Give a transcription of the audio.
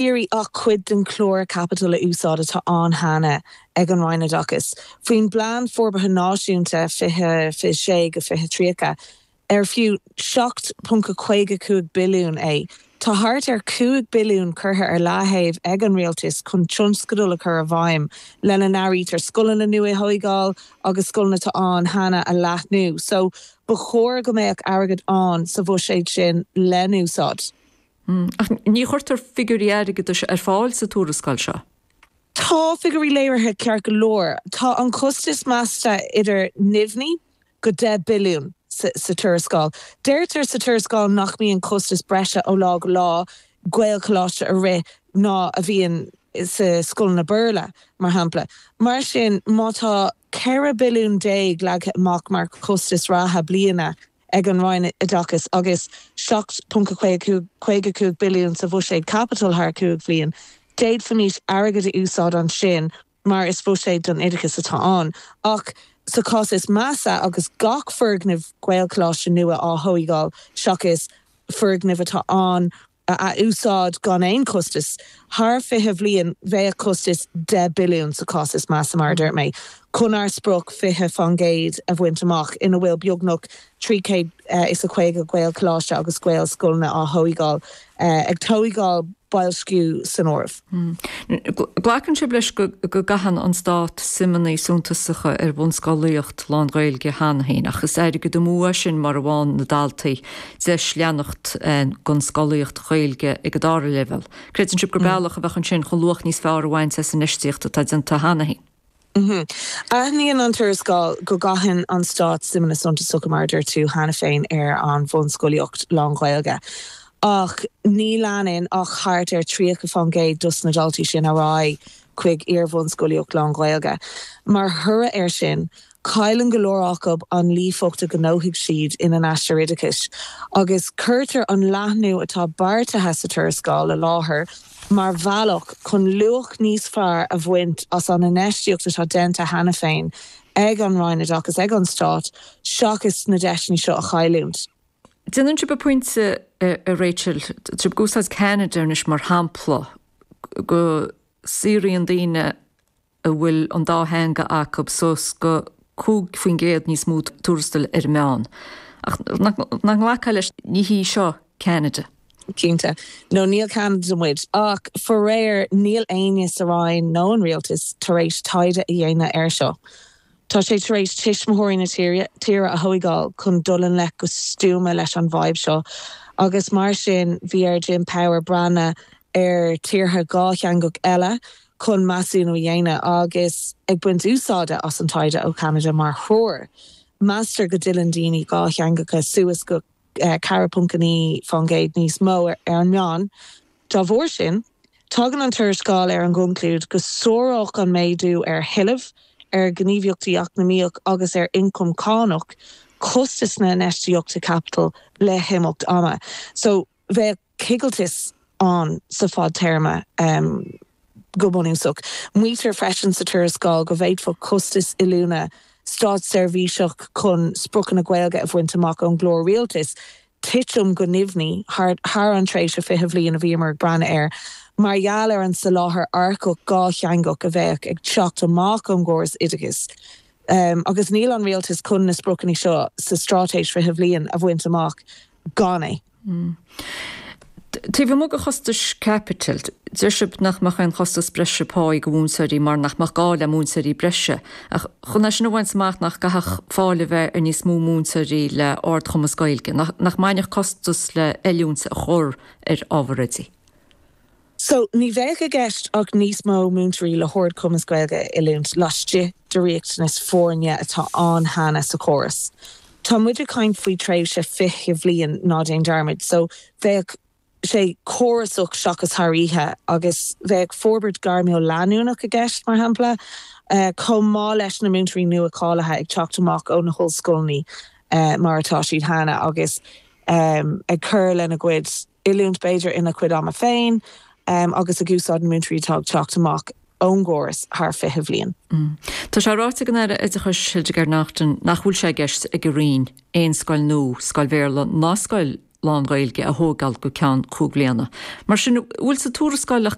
Iarraidh ach cuid den chlár caipitil a úsáid atá ann cheana ag an Roinn Oideachais. Faoin bPlean Forbartha Náisiúnta 2026-2030, ar fiú 7.55 billiún é, tá thart ar 5 billiún curtha ar leathaobh ag an Rialtas chun tionscadail a chur i bhfeidhm, lena n-áirítear scoileanna nua a thóigeáil agus scoileanna atá ann cheana a leathnú. So, ba chóir go mbeadh airgead ann sa bhuiséad sin le n-úsáid. Ach ní chuirtear figiúirí airgeadais ar fáil sa tuarascáil seo. Tá figiúirí léirithe ceart go leor. Tá an costas measta idir neamhní go 10 billiún sa tuarascáil. Deirtear sa tuarascáil nach mbíonn costas breise ó lá go lá Gaelcholáiste a rith ná a bhíonn sa scoileanna Béarla, mar shampla. Mar sin, má tá 14 billiún leagtha amach mar chostas reatha bliana, ag an Roinn Oideachais agus 7.55 billiún sa bhuiséad caipitil thar chúig bhliain, d'fhéadfaimis airgead a úsáid ansin mar is buiséad don oideachas atá ann. Ach sa chás is measa, agus gach foirgneamh Gaelcholáiste nua á thóigeáil seachas foirgnimh atá ann a ath-úsáid gan aon chostas. Thar 20 bhliain, bheadh costas 10 billiún sa chás is measa, mar a dúirt mé, chun ár sprioc 20% a bhaint amach, ina bhfuil beagnach 350 Gaelcholáiste agus Gaelscoileanna á thóigeáil, ag tóigeáil boilsciú san áireamh. Glacann sibh leis go gcaitheann an Stát suimeanna suntasacha ar bhunscolaíocht lán-Ghaeilge cheana féin, ach is airgead amú é sin mura bhfaigheann na daltaí deis leanacht den scolaíocht Ghaeilge ag an dara leibhéal. Creideann sibh gur bealach a bheadh ansin chun luach níos fearr a bhaint as an infheistíocht atá déanta cheana féin? Aithníonn an tuarascáil go gcaitheann an Stát suimeanna suntasacha, mar a dúirt tú cheana féin, ar an bhunscolaíocht lán-Ghaeilge, ach ní leanann ach thart ar 30% dos na daltaí sin ar aghaidh chuig iar-bhunscolaíocht lán-Ghaeilge. Mar thoradh air sin, Cailleann go leor acu an líofacht a ghnóthaigh siad ina n-aistear oideachais, agus cuirtear an leathnú atá beartaithe sa tuarascáil i láthair mar bhealach chun luach níos fearr a bhaint as an infheistíocht atá déanta cheana féin ag an Roinn Oideachais, ag an Stát, seachas na deiseanna seo a chailliúint. Déanann sibh pointe, a Rachel, tá sibh ag úsáid Ceanada anois mar shampla, go saothraíonn daoine a bhfuil an dá theanga acu suas go 5% níos mó tuarastail ar an meán. Ach nach nglacfá leis, ní hí seo Ceanada. Cinnte. No, níl Ceanada muid. Ach faraor, níl éinne sa Roinn nó an Rialtas tar éis taighde a dhéanamh air seo. Tá sé tar éis tuismitheoirí na tíre a thóigeáil chun dul i ngleic go stuama leis an bhfadhb seo agus mar sin bhí ar Jim Power breathnú ar tíortha dhátheangach eile chun measúnú a dhéanamh agus ag baint úsáide as an taighde ó Cheanada mar threoir. Meastar go dtuilleann daoine dhátheangacha suas go 4.9% níos mó ar an meán. Dá bharr sin, tagann an tuarascáil ar an gconclúid go sáródh an méadú ar thuilleamh, ar ghníomhaíochtaí eacnamaíoch agus ar ioncam cánach costas na hinfheistíochta caipitil le himeacht ama. So, bheadh coigilteas ann sa fadtéarma go bunúsach. Maítear freisin sa tuarascáil go bhféadfadh costas oiliúna státseirbhíseach chun spriocanna Gaeilge a bhaint amach ón gclár rialtais titim go neamhní thar an tréimhse 20 bhliain a bhíomar ag breathnú air mar gheall ar an soláthar earcach dhátheangach a bheadh ag teacht amach ón gcóras oideachais. Agus níl an rialtas chun na spriocanna seo sa Straitéis 20 Bhliain a bhaint amach gan é. Taobh amuigh de chostais caipitil, deir sibh nach mbeadh aon chostas breise páí do mhúinteoirí mar nach mbeadh gá le múinteoirí breise. Ach chun é sin a bhaint amach nach gcaithfeadh fáil a bheith ar níos mó múinteoirí le ardchumas Gaeilge? Nach mbainfeadh costas le hoiliúint a chur ar ábhar oidí? So, ní bheadh i gceist ach níos mó múinteoirí le hardchumas Gaeilge a oiliúint laistigh de riachtanas foirne atá ann cheana sa chóras. Tá muid ag caint faoi tréimhse 20 bhliain, ná déan dearmad, so bheadh sé córasach seachas thar oíche agus bheadh forbairt gairmiúil leanúnach i gceist, mar shampla, chomh maith leis na múinteoirí nua cáilithe ag teacht amach ó na hollscoileanna mar atá siad cheana agus ag cur lena gcuid oiliúint b'fhéidir ina cuid ama féin agus ag úsáid na múinteoirí atá ag teacht amach ón gcóras thar 20 bhliain. Tá sé ráite ag an Aire Oideachais Hildegarde Naughton nach bhfuil sé i gceist ag a Roinn aon scoil nua, scoil Bhéarla ná scoil. lán-Ghaeilge a thógáil go ceann chúig bhliana. Mar sin, an bhfuil sa tuarascáil ach.